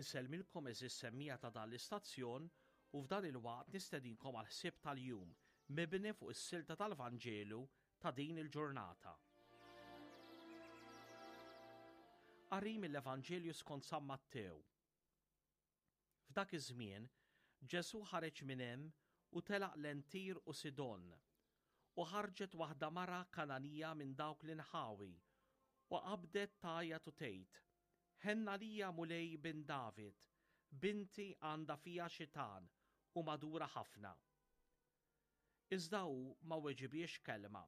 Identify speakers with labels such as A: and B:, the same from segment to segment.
A: Insellmilkom għeżież semmiegħa ta' dan l-istazzjon u f'dan il-waqt nistedinkom għall-ħsieb tal-jum mibni fuq is-silta tal-Vanġelu ta' din il-ġurnata. Qari mill-Evanġelju skont San Mattew. F'dak iż-żmien, Ġesù ħareġ minn hemm u telaq lejn Tir u Sidon. U ħarġet waħda mara Kangħanija minn dawk l-inħawi, u qabdet tgħajjat u tgħid, Ħenn għalija, Mulej, bin David, binti għandha fiha xitan u magħdura ħafna. Iżda hu ma weġibhiex kelma.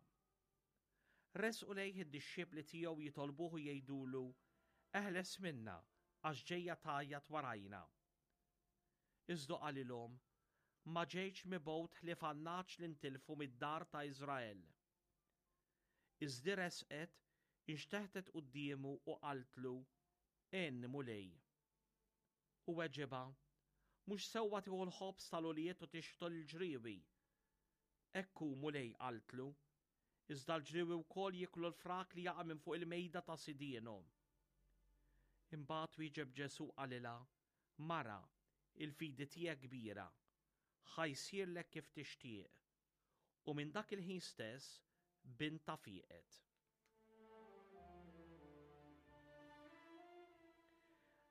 A: Resqu lejh id-dixxipli tiegħu jitolbuh u jgħidulu, Eħles minna, għax ġejja tgħajjat warajna. Iżda qalilhom, Ma ġejtx mibgħut ħlief għan-nagħaġ li ntilfu mid-dar ta' Iżrael. Iżdi resqet, inxteħtet quddiemu u qaltlu, Għinni, Mulej. U weġibha, Mhux sewwa tieħu l-ħobż tal-ulied u tixħtu lill-ġriewi. Hekk hu, Mulej, qaltlu, iżda l-ġriewi wkoll jieklu l-frak li jaqa' minn fuq il-mejda ta' sidienhom. Imbagħad wieġeb Ġesù qalilha, Mara, il-fidi tiegħek kbira, ħa jsirlek kif tixtieq. U minn dak il-ħin stess bintha fieqet.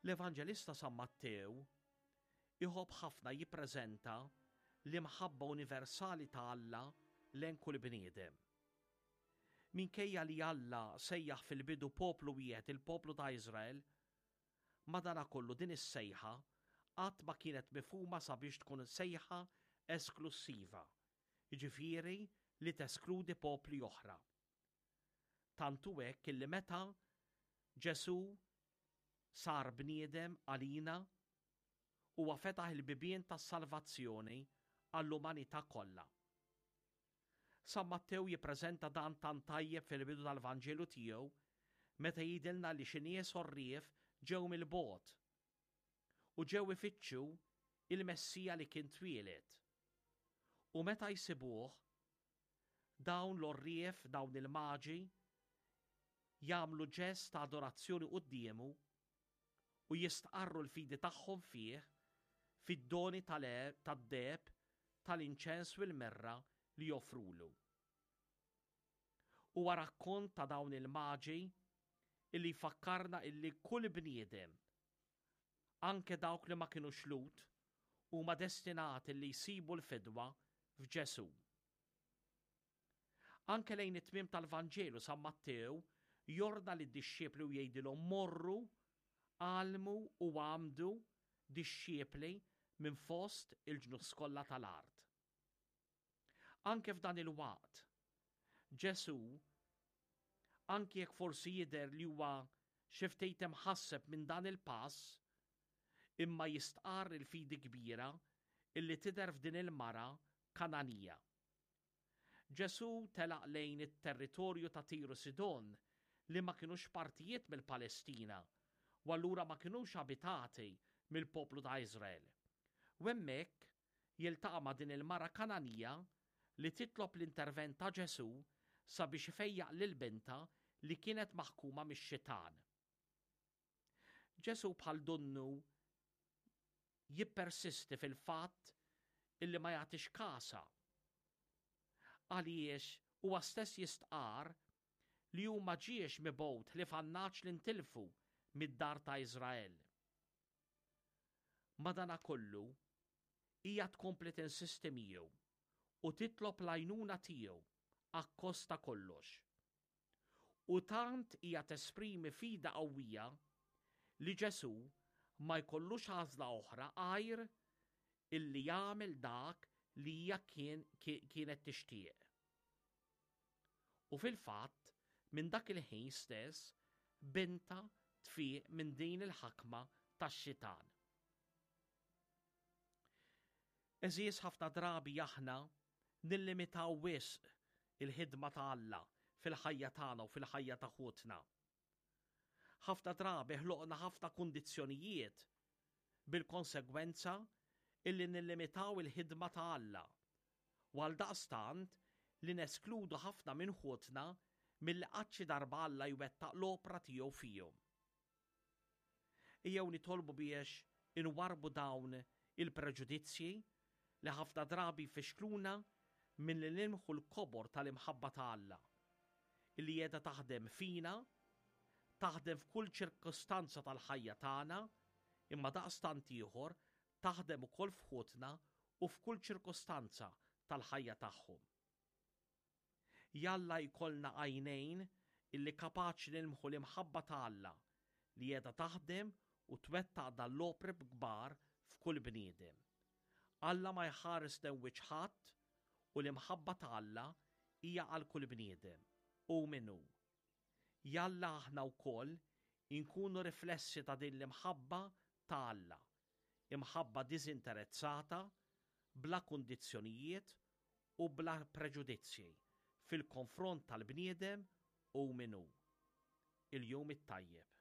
A: L-Evanġelista San Mattew iħobb ħafna jippreżenta l-imħabba universali ta' Alla lejn kull bniedem. Minkejja li Alla sejjaħ fil-bidu poplu wieħed il-poplu ta' Iżrael, Madanakollu din is-sejħa qatt ma kienet mifhuma sabiex tkun sejħa esklussiva, jiġifieri li teskludi popli oħra. Tant hu hekk illi meta Ġesù sar bniedem għalina, huwa fetaħ il-bibien tas-salvazzjoni għall-umanità kollha. San Mattew jippreżenta dan tant tajjeb fil-bidu tal-Vanġelu tiegħu meta jgħidilna li xi nies għorrief ġew mill-bogħod u ġew ifittxu il-Messija li kien twieled. U meta jsibuh, dawn l-għorrief, dawn il-maġi, jagħmlu ġest ta' adorazzjoni quddiemu u jistqarru l-fidi tagħhom fih fid-doni tad-deheb, tal-inċens u l-mirra li joffrulu. Huwa rakkont ta' dawn il-maġi illi jfakkarna illi kull bniedem, anke dawk li ma kinux Lhud, huma destinati li jsibu l-fidwa f'Ġesù. Anke lejn it-tmiem tal-Vanġelu San Mattew jordna lid-dixxipli u jgħidilhom morru, għallmu u għammdu dixxipli minn fost il-ġnus kollha tal-art. Anke f'dan il-waqt, Ġesù, anke jekk forsi jidher li huwa xi ftit imħasseb minn dan il-pass, imma jistqarr il-fidi kbira illi tidher f'din il-mara Kananija. Ġesù telaq lejn it-territorju ta' Tir u Sidon li ma kinux partijiet mill-Palestina u allura ma kinux abitati mill-poplu ta' Iżrael. U hemmhekk jiltaqa' ma' din il-mara Kangħanija li titlob l-intervent ta' Ġesù sabiex ifejjaq lil bintha li kienet maħkuma mix-xitan. Ġesù bħal donnu jippersisti fil-fatt illi ma jagħtix kasha. Għaliex huwa stess jistqarr li hu ma ġiex mibgħut ħlief għan-nagħaġ li ntilfu mid-dar ta' Iżrael. Madanakollu, hija tkompli tinsisti miegħu u titlob l-għajnuna tiegħu akkost ta' kollox. U tant hija tesprimi fidi qawwija li Ġesù ma jkollux għażla oħra għajr illi jagħmel dak li hija kien kienet tixtieq. U fil-fatt, minn dak il-ħin stess, bintha tfieq minn din il-ħakma tax-xitan. Għeżież ħafna drabi aħna nillimitaw wisq il-ħidma ta' Alla fil-ħajja tagħna u fil-ħajja ta' ħutna. Ħafna drabi ħloqna ħafna kundizzjonijiet bil-konsegwenza illi nillimitaw il-ħidma ta' Alla u għaldaqstant li neskludu ħafna minn ħutna milli qatt xi darba Alla jwettaq l-opra tiegħu fihom. Ejjew nitolbu biex. Inwarrbu dawn il-preġudizzji li ħafna drabi jfixkluna milli nilmħu l-kobor tal-imħabba ta' Alla, illi qiegħda taħdem fina, taħdem f'kull ċirkustanza tal-ħajja tagħna, imma daqstant ieħor taħdem ukoll f'ħutna u f'kull ċirkustanza tal-ħajja tagħhom. Jalla jkollna għajnejn illi kapaċi nilmħu l-imħabba ta' Alla li qiegħda taħdem u twettaq dan l-opri kbar f'kull bniedem. Alla ma jħares lejn wiċċ ħadd u l-imħabba ta' Alla hija għal kull bniedem, hu min hu. Jalla aħna wkoll inkunu riflessi ta' din l-imħabba ta' Alla, imħabba diżinterezzata, bla kundizzjonijiet u bla preġudizzji fil-konfront tal-bniedem hu min hu. Il-Jum it-Tajjeb.